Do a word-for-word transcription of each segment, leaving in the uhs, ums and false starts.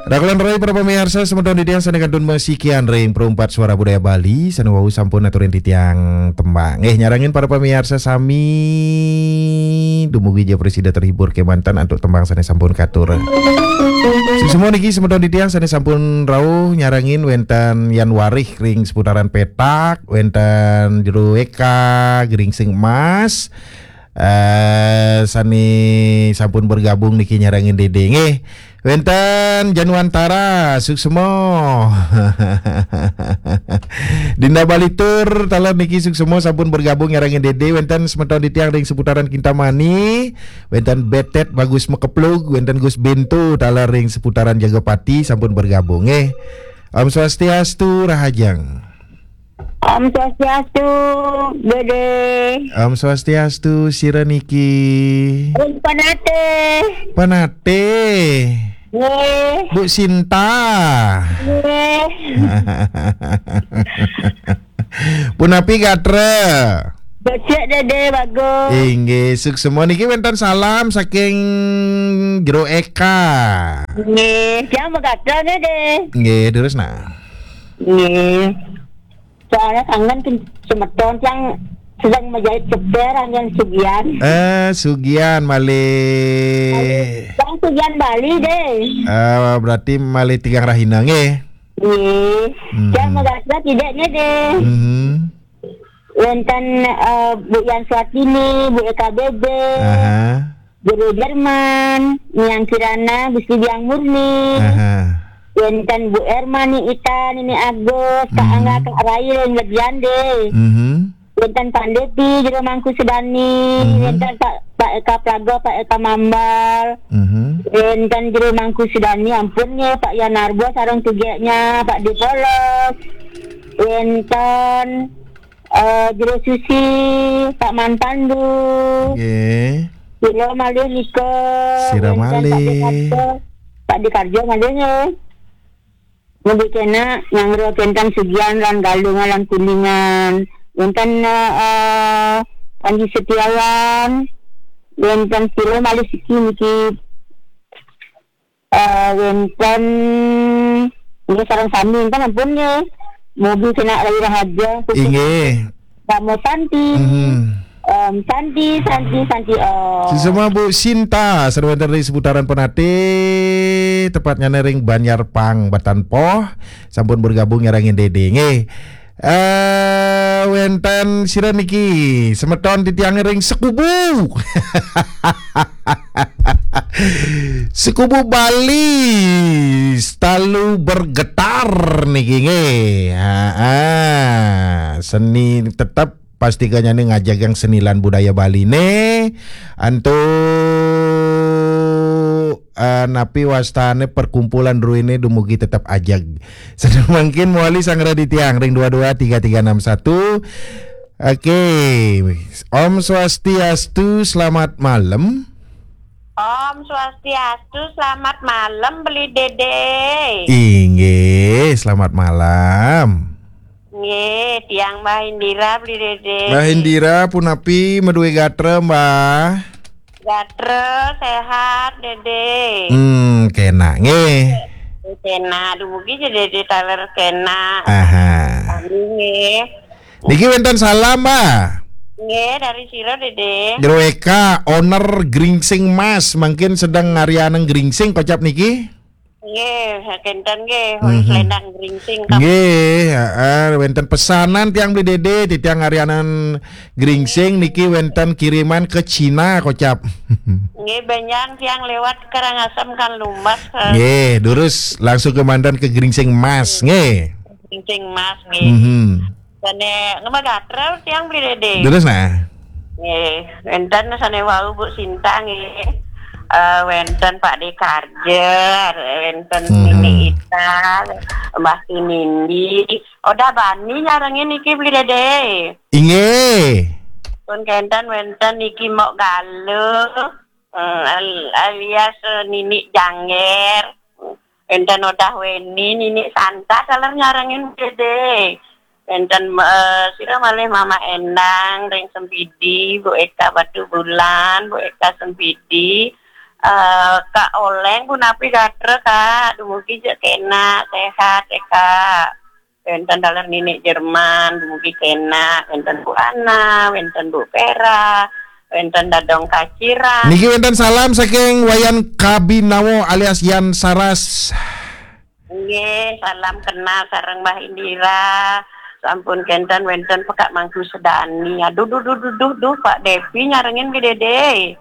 Rakulon roi para pamiarsa, semeton titiang sane kantun masikian ring Perumpat Suara Budaya Bali, sane wau sampun aturin titiang tembang. Nggih, nyarengin para pamiarsa sami dumugi ja prasida terhibur kemanten antuk tembang sane sampun katur. Suksma niki semeton titiang sane sampun rauh nyarengin, wenten Yan Warih ring seputaran Petak, wenten Jero Eka, Gringsing Emas, eh, sane sampun bergabung niki nyarengin Dede nggih. Wenten Januantara, suksma. Dinda Balitur, taler niki suksma sampun bergabung nyarengin Dede. Wenten semeton titiang ring seputaran Kintamani, wenten Betet Bagus Mekeplug, wenten Gus Bento, taler ring seputaran Jagapati sampun bergabung nggih. Om Swastiastu, Rahajeng. Om Swastiastu, Dede. Om Swastiastu, sira niki. Om Panate. Panate. Nggih. Bu Sinta. Nggih. Punapi gatra? Becik, Dede, bagus. Inggih, suksma niki wenten salam saking Jero Eka. Nggih, tiang magatra, Dede. Nggih, terus nah. Nggih. Soalnya kangen kin-, semeton yang sedang menjahit ceper, yang Sugian. Eh, Sugian malih. Yang Sugian Bali, deh. Eh, berarti malih tigang rahina, nggih? Nggih. Mhm. Yang magatra tidaknya, deh. Mhm. Wenten, eh, Bu Yan Swatini, Bu Eka Bebe. Aha. Jero Jerman, Niang Kirana, Gusti Biang Murni. Aha. Wenten Bu Erma, Ni Ita, Nini Agus, Kak Angga, Kak Rai, Ring Legian deh. Mhm. Wenten Pandeti, Jero Mangku Sedani, wenten Pak, Pak Eka Praga, Pak Eka Mambal. Mhm. Wenten Jero Mangku Sedani, ampun nggih, Pak Yan Narbo, sareng tugeknya, Pak Depolos. Wenten Eh, Jero Susi, Pak Man Pandu. Nggih. Sira malih nika. Sira malih. Pak Dekarjo, Pak Dekarjo malih nggih. Mugi kena nyanggra kenten Sugian lan Galungan lan Kuningan. Wenten, eh, eh, Panji Setiawan. Wenten sira malih siki niki. Eh, wenten, nggih, sareng sami wenten ampun nggih. Mugi kena rai rahaja. Inggih. Namo Santi. Mhm. Om Santi, Santi, Santi Om. Suksma Bu Sinta, sareng wenten ring seputaran Penatih, tepatnya ring Banjar Pang, Batan Poh, sampun bergabung nyarengin Dede nggih. Eh, wenten sira niki, semeton titiang ring Sekubu. Sekubu Bali, selalu bergetar niki nggih. Ha, ha. Seni tetep pasti kenyane ngajagang seni lan budaya Baline. Antuk, eh, napi wastane perkumpulan druene dumugi tetep ajeg. Sedang mangkin mawali sanggra titiang ring dua dua tiga tiga enam satu. Oke. Om Swastiastu, selamat malam. Om Swastiastu, selamat malam, Beli Dede. Inggih, selamat malam. Nggih, tiang Mbah Indira, Beli Dede. Mbah Indira, punapi, madue gatra, Mbah? Gatra, sehat, Dede. Hmm, kena, nggih. Kena, dumugi ja Dede taler kena. Aha. Sami nggih. Niki wenten salam, Mbah. Nggih, dari sira, Dede? Jero Eka, owner Gringsing Mas, mangkin sedeng ngarianang gringsing kocap niki? Nggih, kenten nggih, mhm, selendang gringsing. Nggih, heeh, wenten pesanan tiang Beli Dede, titiang ngarianang gringsing niki wenten kiriman ke Cina kocap. Nggih, benjang tiang lewat Karangasem kan lumbas, eh. Nggih, durus langsung kemanten ke Gringsing Mas, nggih. Gringsing Mas, nggih. Mhm. Sane ngemah gatra tiang Beli Dede. Durus nah. Nggih, wenten sane wau Bu Sinta nggih. Eh, wenten Pak Dekarja, wenten, mhm, Nini Ita, Mbah Tinindi. Odah bani nyarengin niki Beli Dede. Inggih. Pun kenten wenten niki Mok Galuh. Eh, al-, alias, eh, Nini Jangger. Enten Odah Weni, Nini Santa, taler nyarengin Dede. Enten, eh, sira malih Mama Endang, ring Sempidi, Bu Eka Batu Bulan, Bu Eka Sempidi, Eh, Kak Oleng punapi gatra, Kak? Dumugi ja kena, sehat ya, Kak. Wénten taler Ninik Jerman, dumugi kena, wénten Bu Ana, wénten Bu Vera, wénten Dadong Kaciran. Niki wénten salam saking Wayan Kabinawo alias Yan Saras. Nggih, salam kenal sareng Mbah Indira. Sampun kénten wénten Pekak Mangku Sedani. Aduh, duh, duh, duh, duh, duh, Pak Devi nyarengin gedé.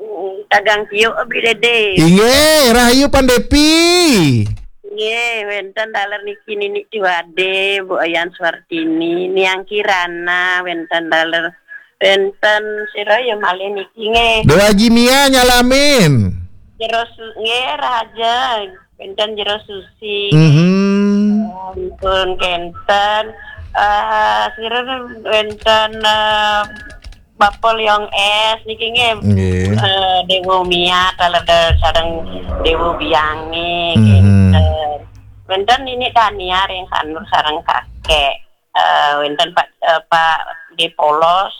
Mm, Tagang Tiuk, Abi Dede. Inggih, rahayu Pan Depi. Nggih, wénten taler niki Ninik Tiwade, Bu Ayan Suartini, Niang Kirana, wénten taler, wénten sira ya malih niki nggih. Dewa Jimia nyalamin. Jero Su-, nggih, rahajeng. Wénten Jero Susi. Mhm. Sampun kénten, eh, sira wénten, eh, Bapa Liong S niki nggih. Nggih. Eh, Dewa Mia, taler sareng Dewa Biangi, mhm, kénten. Wénten Ninik Dania ring Sanur sareng kakek. Eh, wénten Pak, eh, Pak Depolos,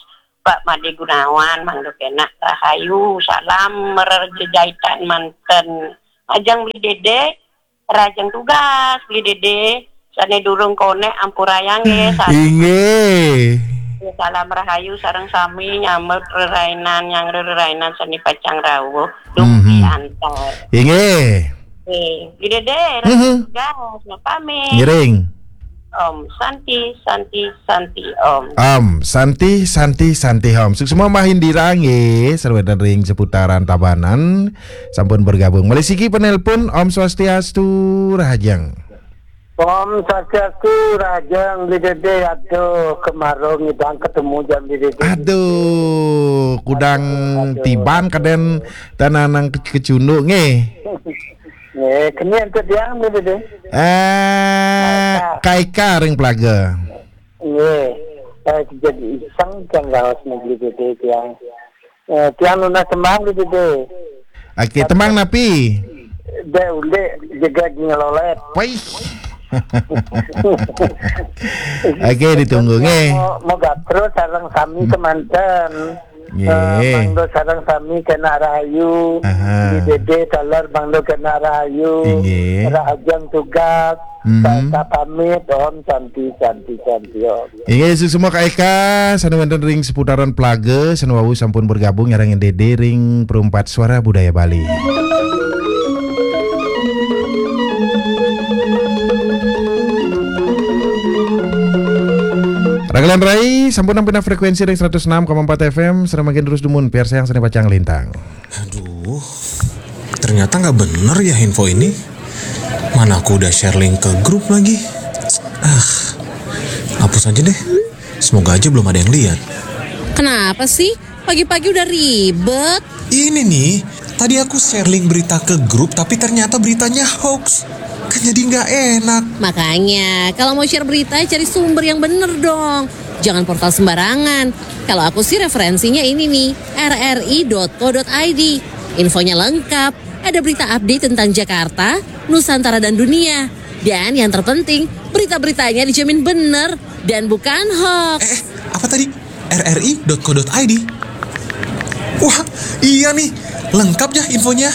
Pak Made Gunawan, mangda kenak rahayu, salam mererjejaitan manten. Ajeng Beli Dede, rajeng tugas, Beli Dede, sané durung konek ampurayang nggih, salam. Inggih. Salam rahayu sareng sami nyambut rerainan, nyang rerainan sané pacang rawuh, dumugi, mhm, antar. Inggih. Nggih, Beli Dede, mhm, rajeng tugas, pamit. Ngiring. Om Santi, Santi, Santi, Om. Om Santi, Santi, Santi, Om. Suksma Mbah Indira nggih, sareng wénten ring seputaran Tabanan. Sampun bergabung. Malih siki penelpon, Om Swastiastu, rahajeng. Om Swastiastu, rahajeng, Beli Dede. Aduh, kemaro ngidang ketemu jam Beli Dede. Aduh, kudang, aduh, aduh, tiban aduh. Kadén tananang ke-, kecunduk nggih. Nggih, keni antuk tiang, Beli Dede. Eh, Kaika. Kaika ring Pelaga. Nggih. Eh, jadi iseng tiang raos Beli Dede tiang. Eh, tiang nunas tembang Beli Dede. Oke, tembang napi? Dek Ulik Jegeg Ngelolét. Wih. Oke, ditunggu nggih. Mau, mau gatra sareng sami, hmm, kemanten. Nggih. Eh, mangda sareng sami kenak rahayu. Aha. Di Dede taler mangda kenak rahayu. Nggih. Rahajeng tugas. Mhm. Sa-, sa pamit, Om Santi, Santi, Santi, Om. Inggih, suksma Kak Eka, sané wénten ring seputaran Pelaga, sané wau sampun bergabung nyarengin Dede ring Perumpat Suara Budaya Bali. Rakelan rai, sampun nampi frekuensi ring seratus enam koma empat F M, sareng mangkin terus dumun, piarsayang sané pacang lintang. Aduh, ternyata nggak bener ya info ini. Mana aku udah share link ke grup lagi. Ah, hapus aja deh. Semoga aja belum ada yang lihat. Kenapa sih? Pagi-pagi udah ribet. Ini nih, tadi aku share link berita ke grup, tapi ternyata beritanya hoax. Kan jadi nggak enak. Makanya, kalau mau share berita, cari sumber yang bener dong. Jangan portal sembarangan. Kalau aku sih referensinya ini nih, R R I dot co dot I D. Infonya lengkap, ada berita update tentang Jakarta, Nusantara dan dunia. Dan yang terpenting, berita-beritanya dijamin bener dan bukan hoax. Eh, eh, apa tadi? R R I dot co dot I D. Wah, iya nih, lengkap ya infonya.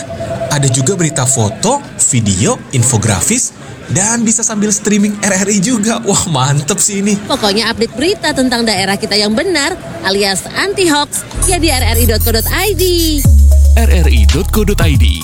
Ada juga berita foto, video, infografis, dan bisa sambil streaming R R I juga. Wah, mantep sih ini. Pokoknya update berita tentang daerah kita yang benar alias anti hoax ya di R R I dot co dot I D. R R I dot co dot I D.